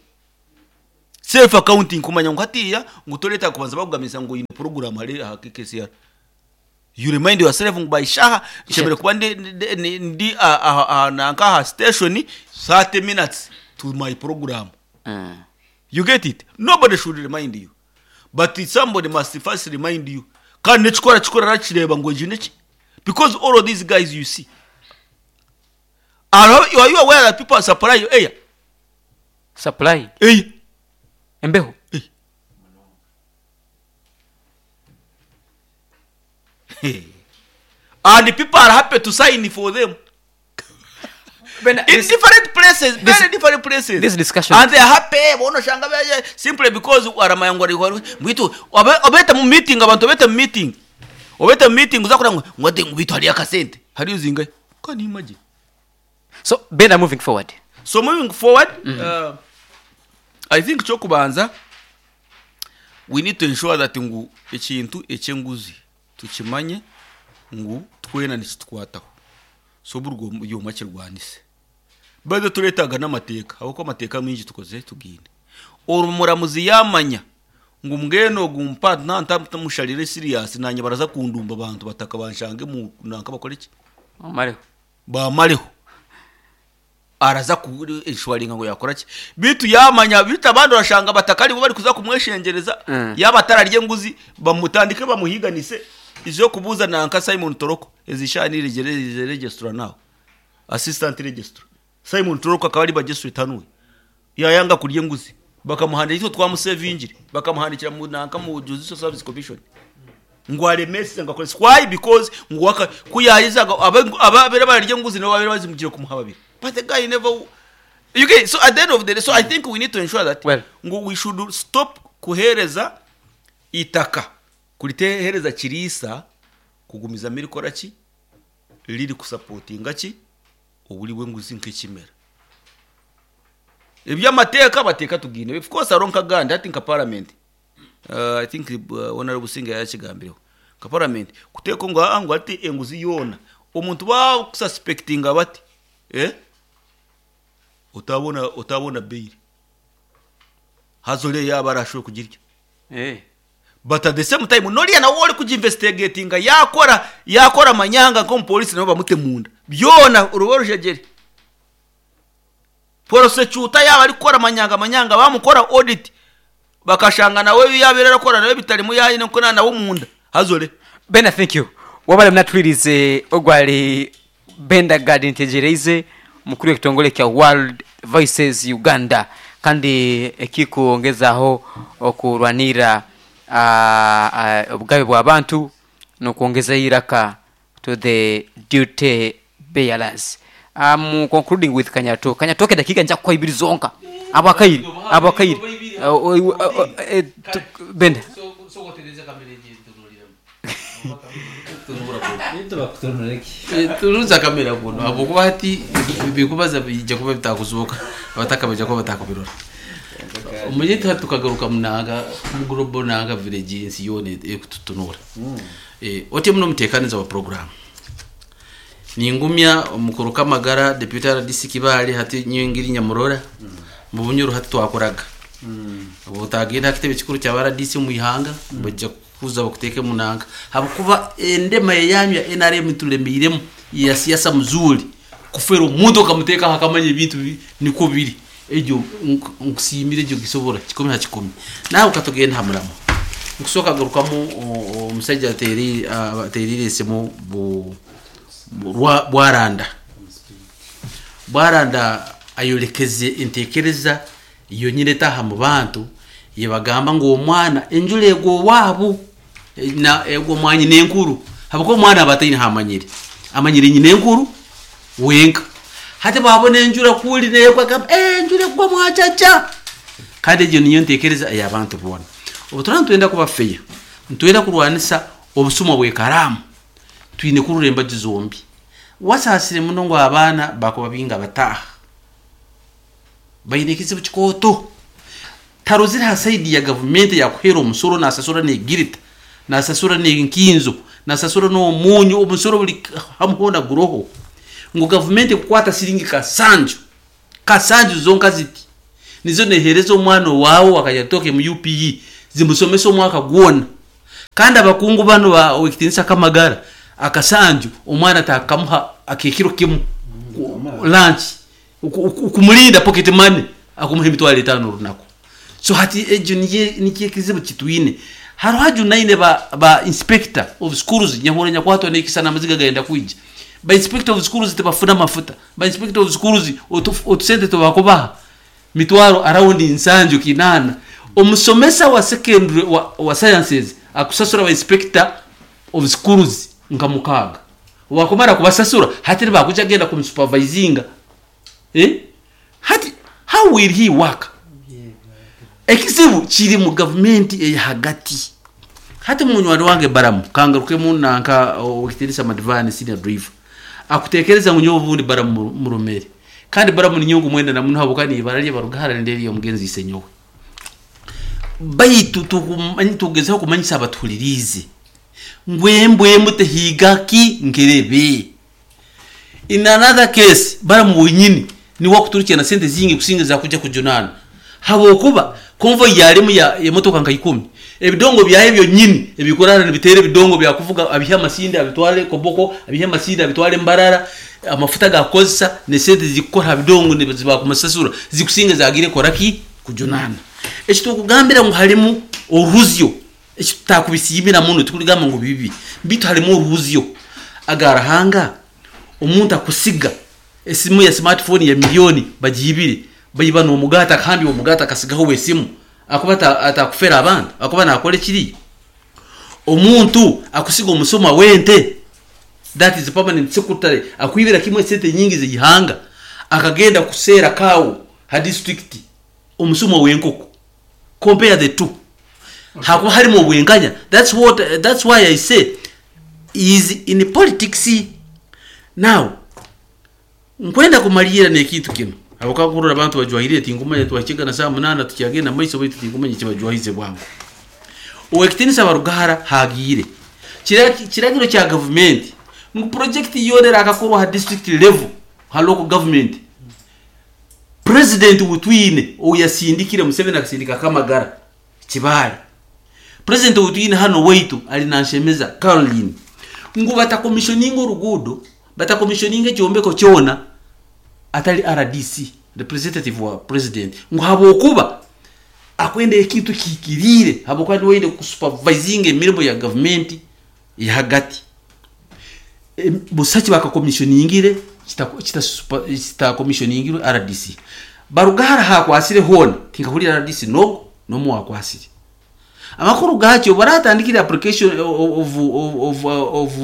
Self accounting kumanya ngu hatiya ngu toreeta kubanza bakugamisa ngu oyine program hari aha K K C R. You remind yourself ngu by shaha nshemere kuba ndi, ndi, ndi, ndi ah, ah, ah, nanka aha station thirty minutes to my program. Mm. You get it? Nobody should remind you, but somebody must first remind you. Kandi nekikora kikora rakireba ngu egi neki, because all of these guys you see are, are you aware that people are supplying air? Supply? Air. Embeho. And the people are happy to sign for them Bena, in this, different places, this- very different places. This discussion- And they are happy bono shanga baje simply because aramaya ngo ari mwitu obeta mu meeting, abantu obeta mu meeting, obeta mu meeting uzakora ngo ngo ate ngo bitu hari akasente hari uzinga. Can you imagine? So Bena, moving forward. So moving forward, uh, I think kyokubanza, we need to ensure that ngu ekintu ekyenguzi tukimanye ngu twena nikitukwataho. So burwo yoma kirwanise bado turetaga n'amateeka, ahubwo amateeka mingi tukoze tugine omuramuzi yamanya ngu mbwenu ogu mpa ntamusharire serious nanye baraza kundumba abantu bataka banshange mu nanka bakore iki? Omareho. Bamareho araza kushwaringa ngo yakora ki bitu yamanya bitu abandi urashanga batakari bo bari kuza kumweshengereza. Mm. Yaba atararye nguzi bamutandike bamuhiganise izo kubuza nanka Simon Toroko ezishani rigere register nawe assistant registrar Simon Toroko akaba ari bagesuite tanuwe yayanga kurya nguzi bakamuhandikira icyo twamusevingire bakamuhandikira mu nanka mu Judicial Service Commission ngo aremese ngo akore. Why? Because ngo waka kuyayizaga ababera bararya nguzi nabo babera bazimugire kumuha babiri, but the guy never, you get? So at the end of the day, so I think we need to ensure that Well. ngo we should stop kuhereza itaka kuritehereza kirisa kugumiza mirikora ki riri kusapotinga ki oburi bw'enguzi nk'ekimera eby'amateeka bateeka tugine. Of course aronka gandi ati nka parliament, uh, I think uh, honorable Businga yakigambireho nka parliament kuteeka ngo ah, ngo ati enguzi yoona omuntu bakususpectinga bati eh utabona utabona bail hazole yaba arashoboye kugirya. Eh. But at the same time noriya nawe uri kuginvestigatinga yakora yakora amanyanga nk'omupolisi nabo bamute munda byona urubo rujegere prosecutor yaba ari gukora amanyanga amanyanga bamukora audit bakashanga nawe yabera arakora nawe bitari yayi nko nawe munda hazole. Bena, thank you. Wabale mnatwirize ogwali Benda Gad Ntegereize, mukuru w'ekitongole kya World Voices Uganda kandi ekikuongezaho okurwanira uh, uh, obugabe bw'abantu n'okwongeza iraka to the duty bearers. I'm concluding with Kanyato. Kanyatoke dakika nja kuwa ibiri zonka. Abakairi, abakairi. Uh, uh, uh, uh, eh, tu- Benda. Turuza kamera kuno habwokuba hati bikubaza bijja kuba bitakuzuka abataka bajja kuba batakubirora omuyeta tukagaruka munanga mugurobo nanga village ensi yoona ekututunura. Eh, otye muno muteekaniza wa program ningumya omukuru kamagara deputy R D C Kibaale hati nyingiri nyamurora mu Bunyoro hati twakoraga ubu utagenda kitebe kikuru cya R D C mu ihanga bajja kuza bakuteke munanga habukuba endema yanyu ya N R M tulemiremu ya siasa mzuri kufera omuntu okamuteka hakamanya ebintu bi- niko biri egyo nk- nkusiimire egyo gisobora kikumi ha kikumi nawe ukatugenda hamuramo nkusooka garukamu o- omusajja ateeri- ateerire esimu bu- bu- rwa- bwaranda bwaranda ayolekeze entekereza yonyine etaha mu bantu yebagamba ngu omwana enjura egwa owaabo na egwa omwanyi nenkuru habwokuba omwana aba ataine hamanyire amanyire nyina enkuru wenka hati bwabona enjura kuli negwa agamba "Eh, enjura egwa mwacaca." Kandi egyo niyo ntekereza eyabantu boona obu turaba nitwenda kuba feya nitwenda kurwanisa obusuma bwekaramu twine kurura embaju zombi wasaasire muno ngu abaana bakuba binga bataaha baine ekizibu kikooto tarozire ha saidi ya gavumenti yakuhera omusoro nasasura negirita nasasura nenkinzo nasasura n'omunyu omusoro buli hamuhona guroho. Ngu gavumenti ekukwata siringi kasanju kasanju zonka ziti nizo nehereza omwana owaawe wakajatoke mu U P E zimusomesa omwaka gwona. Kandi abakungu bano ba owekitinisa kamagara akasanju omwana takamuha akekiro kimu lunch, kumulinda pocket money akumuha emitwaro etaano orunaku. So hati egyo niye nikyo ekizibu kitwine. Hariho hajunaine ba, ba inspector of schools nyahura nyakwatwa nekisa n'amaziga gayenda kwija. Ba inspector of schools tebafuna mafuta. Ba inspector of schools otusente tubakubaha mitwaro around nsanju kinana. Omusomesa wa secondary wa, wa sciences akusasura ba inspector of schools nka mukaaga. Wakumara kubasasura hati nibakuja genda kumusupervisinga, eh? Hati how will he work? Ekizibu kiri mu gavumenti eyahagati. Hati munywani wange Baramu kangarukemu nanka okitinisa Madivani senior driver akutekereza ngu nyowe obundi Baramu muromere, kandi Baramu ninyongu mwenda namuno habukani ibara lye barugahara nderi omugenzi isenyowe. Baitu tukumanyi tugezeho kumanyisa abatuhulirize ngwembwemu tehigaki nkerebe. In another case Baramu wenyini ni wakuturukira na sente zingi kusinga za kuja kujunana, habwokuba convoy yalimu ya emotoka nka ikumi, ebidongo byaye byonyini ebikorana nibitere ebidongo byakuvuga abiha amasinde abitwale Koboko, abiha amasinde abitwale Mbarara, amafuta gakozesa ne sente zikora bidongo ne ziba kumasasura zikusinga zagire koraki kujunana. Ekitukugambira ngu halimu oruzyo ekitutakubisiimira muno, tukuligamba ngu bibi bitu halimu oruzyo agarahanga. Omuntu akusiga esimu ya smartphone ya milioni bagibire bayiba n'omugata kandi omugata akasigaho esimu akuba atakufera abantu akuba nakora ekiri. Omuntu akusiga omusoma wente that is permanent secretary akwibira kimwe sente nyingi zihanga akagenda kusera kawo ha district omusoma wenkoko. Compare the two, hakuba harimo obwenganya. That's what, that's why I say is in politics now. Nkwenda kumalira nekintu kino abukakurura abantu bajwahire tingumanya twakigana saa munana tukyagenda maiso baitu tingumanya kibajwahize bwangu. Owekitinisa Barugahara hagire kiragiro kya government ngu project yonera akakorwa ha district level ha local government. President wutwine oyasindikire Museveni akasindika Kamagara Kibale. President wutwine hano waitu ali nanshemeza Caroline ngu batakomissioninga orugudo, batakomissioninga ekyombeko kyona atali R D C representative wa president, ngu habwokuba akwenda ekintu kikirire habwokuba niwende kusupervising emirimo ya government yahagati. E, busaki bakakomissioningire kitakomissioningire R D C. Barugahara hakwasire hona tinkahurira R D C no nomu wakwasire amakuru gacyo baratandikira application of of of of,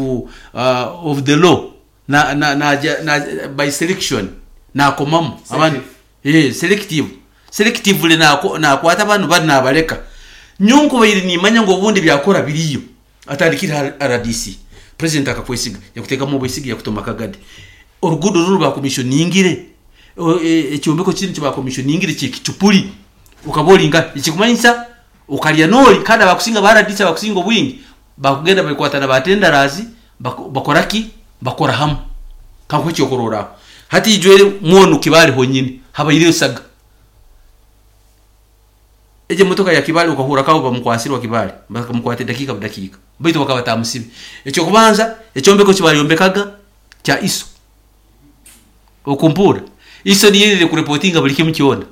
uh, of the law na na na, na by selection na komamu abantu eh selective selectively na na kwata abantu bari nabareka nyungu bayiri nimanya ngo ubundi byakora biriyo atandikira R D C. President akakwesiga yakuteka mu bwesiga yakutoma kagade orugudo ruru ba commissioningire ekyombeko kiri kiba commissioningire kikicupuli ukabolinga ikikumanyisa ukalya noli kandi abakusinga ba R D C abakusinga obwingi bakugenda bakwatana batendarazi bakoraki bakora hamu kanko cyokorora hati ijwere mwono Kibale honyine habayire saga eje motoka ya Kibale ukahura kawo bamukwasirwa Kibale bakamukwate dakika dakika baitu bakabatamusibe. Ekyo kubanza ekyombeko kibayombekaga kya iso okumpura iso niyerere kureportinga buli kimu kyona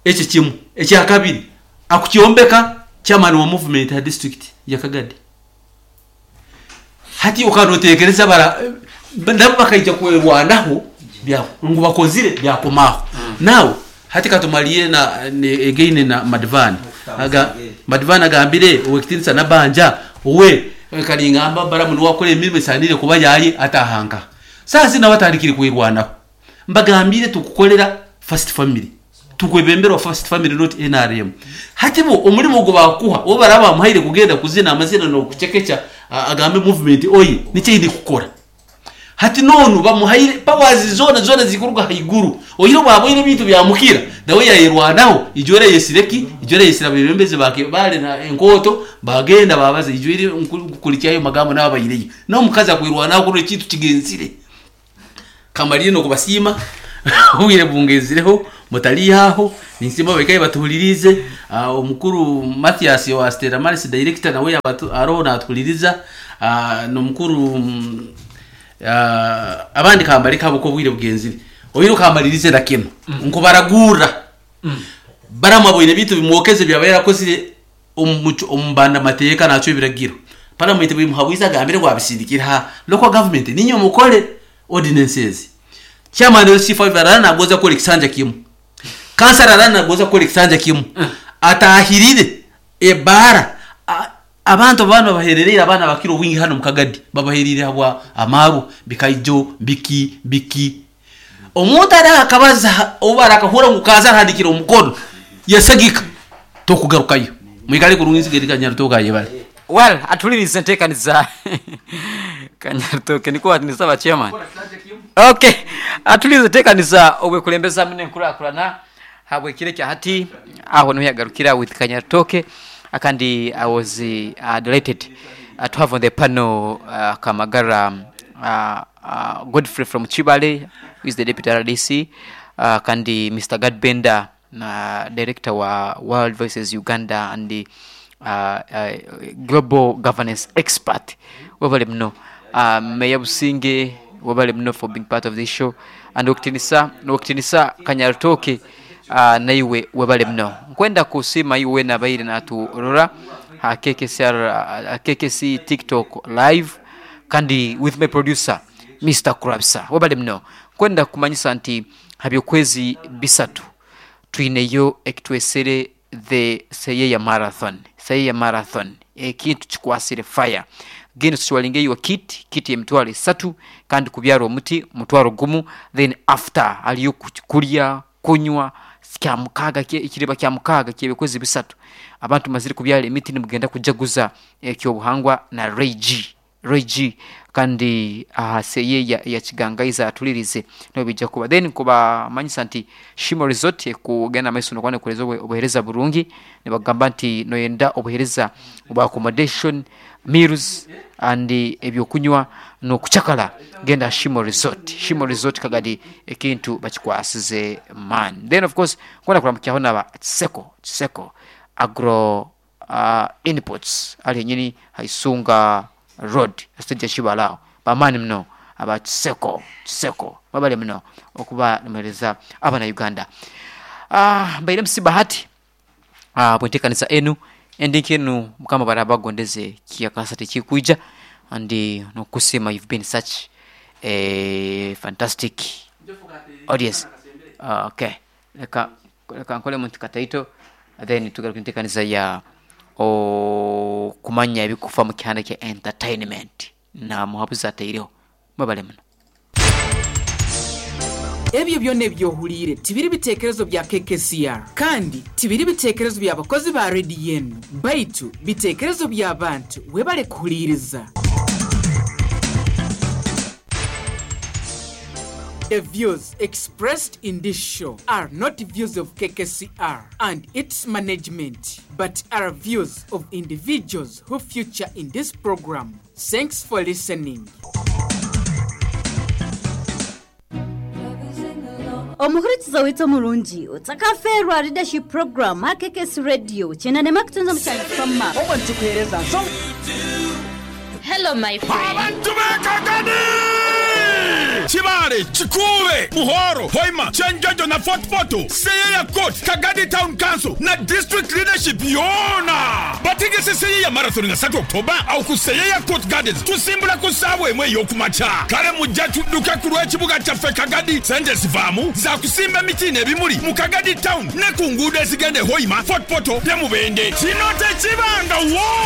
ekyo kimu. Ekya kabiri akukyombeka chairman wa movement ya district ya Kagadi. Hati ukanotekereza bara ndabo bakaija kwerwanaho bya ngu bakozire byakomaho. Mm. Now hati katumaliye na again na Madivani aga Madivani agambire owekitinisa nabanja owe kalingamba Baramu niwakora emirimo esanire kuba yaye atahanga sasa nabatandikire kwerwanaho. Mbagambire tukukolera first family tukwebemberwa first family not N R M. Hati bo omulimo gwo bakuha bo baraba muhaire kugenda kuzina amazina no kuchekecha agambe movement oyi niche ndi kukora. Hati nonu bamuhaire powers zona zona zikuruga haiguru oyiro baboire bintu byamukira nawe yayirwanaho ijore yesireki ijore yesira bibembeze bake bale na enkoto bagenda babaze ijore nkulikyayo magambo nabayireyo no mukaza kwirwanaho kuri kintu kigenzire. Kamalire nokubasiima obwire bungezireho mutalihaho ninsiima bekaye batuhulirize. Ah, omukuru Mathias wa Stella Maris director nawe yabatu aroho natuhuliriza. Ah, nomukuru mm, ah, abandi kambaleka abo ko obwire bugenzire oyiro kamalirize na kino nkubaragura baramabwire bitu bimwokeze byaba yarakozire omu- omu mateeka nakyo ebiragiro parliament bimuhabwiza agambire gwabisindikira ha local government ninyo mukole ordinances. Chairman wa C five arana nagoza kukora ekisanja kimu, kansara arana nagoza kukora ekisanja kimu, atahirire ebara. A- abantu abana bahererere abaana bakira obwingi hano mukagadi babaherire habwa amaru bikaijo biki biki. Omuntu ari akabaza oba arakahura ngu kaza arahandikira omukono yasagika tokugarukayo. Mwikale kurungi nsigeri Kanyarutoke ayebale. Well, atulirize enteekaniza Kanyarutoke niko nisaba chairman. Okay, atulirize enteekaniza obwekulembeza mune enkurakurana habwekire kya hati aho niho yagarukira with Kanyarutoke. Akandi I was uh, delighted uh, to have on the panel uh, Kamagara uh, uh, Godfrey from Chibale, who is the deputy R D C, uh, kandi Mister Gadbenda, uh, director wa World Voices Uganda and the uh, uh, global governance expert. Webale muno. uh, Meya Businge, webale muno for being part of this show, and okutinisa nokutinisa Kanyarutoke, uh, naiwe webale muno. Nkwenda kusima iwe nabaire naturora ha K K C R, uh, K K C TikTok live, kandi with my producer Mister Kurabisa, webale muno. Nkwenda kumanyisa nti habyokwezi bisatu twineyo ekitwesere the Seyeya Marathon. Seyeya Marathon ekintu kikwasire fire genda tukiwalingeyo kit kit emitwalo esatu kandi kubyara omuti mutwalo gumu. Then after aliyo ku- kulya kunywa kya mukaaga kye- ekiriba kya mukaaga kyebikwezi bisatu abantu mazire kubyara emiti nimugenda kujaguza ekyobuhangwa na Ray G, Ray G kandi aha Seyeya ya Kigangaiza atulirize niho bijja kuba. Then kubamanyisa nti Shimo Resort ekugenda maiso nokwana kuhereza obuhereza burungi. Nibagamba nti noyenda obuhereza obwa accommodation, meals and ebyokunywa nokucakala, genda Shimo Resort. Shimo Resort Kagadi ekintu bakikwasize man. Then of course kwenda kuramukyaho naba Kiseko, Kiseko Agro uh, Inputs ali yenyini Haisunga Road stage ya bamaani muno aba Kiseko. Kiseko babale muno okuba nimuhereza abana Uganda. uh, mbaire M C Bahati uh, bwentekanisa enu endinki enu mukama barabagondeze kiyakasa tekikwija and nokusima. You've been such a fantastic audience. uh, okay leka leka nkole muntu kataito then tugaruka entekanisa ya okumanya ebikufa mu kihanda kya entertainment na muhabuzi ataireho. Mwebale muno. Ebyo byonna ebyohuliire tibiri biteekerezo bya K K C R kandi tibiri biteekerezo by'abakozi ba rediyo enu baitu biteekerezo by'abantu webale kuhuliiriza. The views expressed in this show are not views of K K C R and its management, but are views of individuals who feature in this program. Thanks for listening. Omuhurikiza withu omurungi otsakaferwa leadership program ha K K C Radio chenanema kutunza mukyalo Obwo nitukuheereza nsonga. Hello, my friend. Abantu b'Ekagadi, Kibale, Kikuube, Buhoro, Hoima, Kyenjojo na Fort Portal, Seyeya Court, Kagadi Town Council na district leadership yona bategese Seyeya Marathon nga satu October awo ku Seyeya Court Gardens. Tusimbula ku ssaawa emu ey'okumakya. Kale mujja tudduke ku lw'ekibuga kyaffe Kagadi. Sente zivaamu za kusimba emiti n'ebimuli mu Kagadi Town ne ku nguudo ezigenda e Hoima, Fort Portal ne Mubende. Kino tekibangawo.